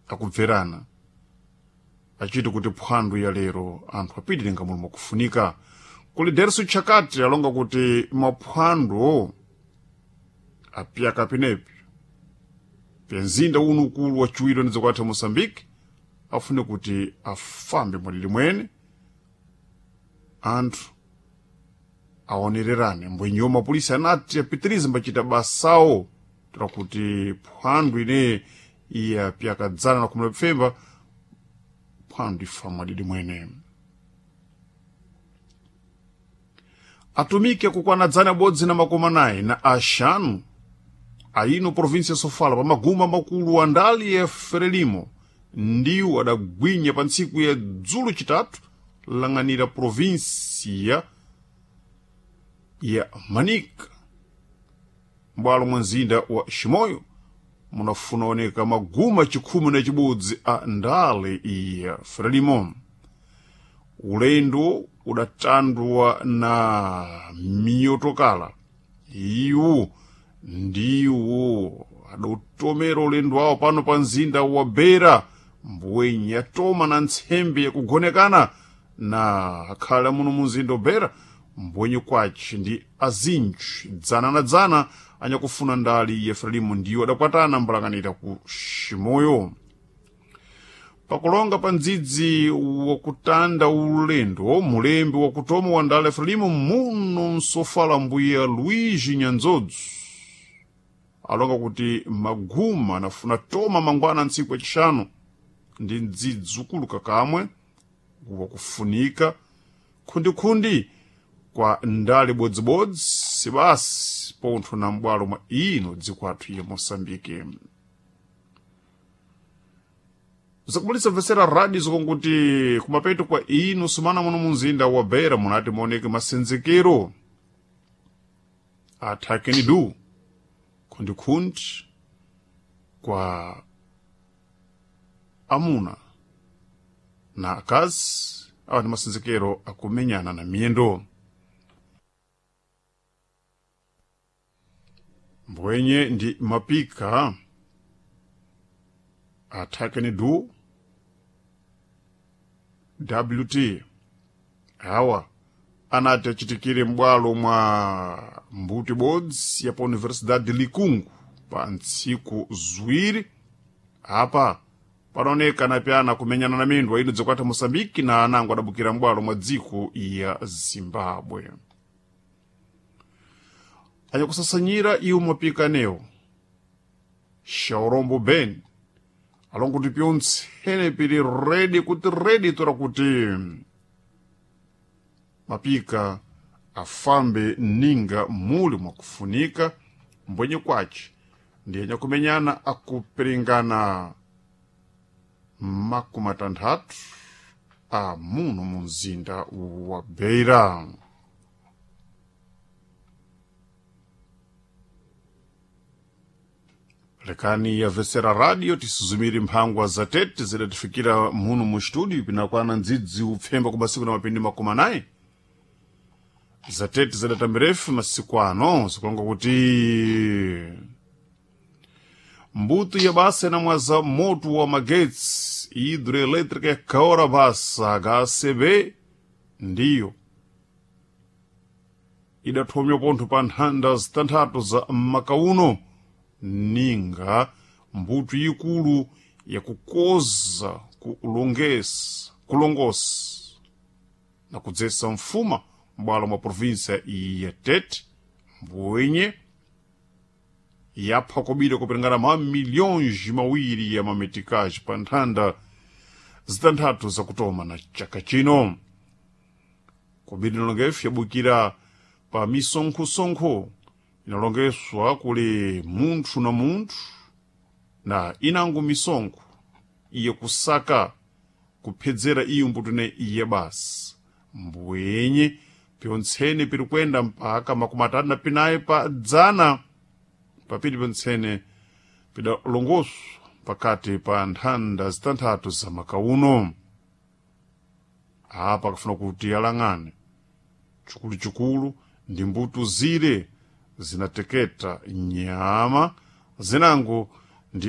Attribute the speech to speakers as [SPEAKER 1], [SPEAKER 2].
[SPEAKER 1] Akubverana achiti kuti phwando ya lero anthu apitire ngamulo mwakufunika. Kuli Derso Chakati alonga kuti maphwando apyaka penepo pya mzinda uno ukulu waciwiri wa dziko lathu Moçambique afune kuti afambe mwadidi mwene, anthu aonererane. Mbwenyewo mapolisi anati apitirize mbachita basawo tira kuti phwando ine iya pyakadzana na khumi la pfemba phwando ifa mwadidi mwene. Atumiki akukwana 190 na axanu aino província ya Sofala pa maguma makulu a ndali ya Frelimo ndiwo adagwinya pa ntsiku ya dzulo chitatu lang'anira província ya Manica m'bwalo mwa mzinda wa Chimoio munafuna oneka maguma 11 a ndale ya Frelimo. Ulendo udatandwa na miyotokala iwu ndiwo adautomera ulendo wawo pano pa mzinda wa Beira mbwenye yatoma na ntsembe yakugonekana na akhala muno mu mzinda wa Beira mbwenye kwaci ndi azinji dzana na dzana anyakufuna ndali ya Frelimo ndiwo adakwatana mbalang'anira ku Chimoio. Pakulonga pa mdzidzi wakutanda ulendo, mulembi wakutoma wa ndale ya Frelimo muno msofala mbuya Luigi Nyanzodzu alonga kuti maguma anafuna toma mangwana ntsiku yacixanu ndi mdzidzi ukulu kakamwe wakufunika khundikhundi kwa ndale bodzibodzi sibasi pontho na m'bwalo mwa ino dziko athu ya Moçambique. Zakubalitsa mvesera radio zikonkuti kumapeto kwa ino sumana muno munzinda wa Beira munati muoneke masenzekero athakeni du khundikhundi kwa amuna na akazi awa ndi masenzekero akumenyana na miyendo. Mbwenye ndi mapika athakeni du wt awa anati achitikire m'bwalo mwa mbuti bodzi ya pa Universidade de Likungu pa ntsiku ziwiri. Apa panaoneka napyana kumenyana na mindwa ino dzikwatha Moçambique na anango adabukira m'bwalo mwa dziko ya Zimbabwe. Anyakusasanyira iwo mapikanewo Shaurombo Ben alongo kuti pyontsene pili redi kuti redi tora kuti mapika afambe ninga muli mwakufunika. Mbwenye kwace ndi anyakumenyana akupiringana 60 a muno mu mzinda wa Beira. Lekani yavesera radio tisuzumire mphangwa za tete zidatifikira muno mu studio pinakwana ndzidzi upfemba ku masiku na mapindi 90 za tete zidatamirefu masiku ano zikulonga kuti mbuto ya basa inamwaza moto wa magetsi hidroelétrica ya Kaora Basa HCB ndiyo idathomya pontho pa nthanda zitanthatu za makauno ninga mbuto ikulu yakukoza kulongesa kulongosa na kudzesa mfuma m'bwalo mwa província ya Tete mbwenye yapha kobiri kupiringana ma milhões mawiri ya mametikaji pa nthanda zitanthatu zakutoma na chaka chino. Kobiri inalongefu yabukira pa misonkhosonkho inalongeswa kuli munthu na munthu na inango misonkho iye kusaka kuphedzera iyo mbutune iye basi mbwenye pyontsene piri kwenda mpaka 34 pa dzana papiri pyontsene pidalongoswa pakati pa nthanda zitanthatu za makauno. Apa akafuna kuti alang'ane chikuluchikulu ndi mbuto zile zinateketa nyama zinango ndi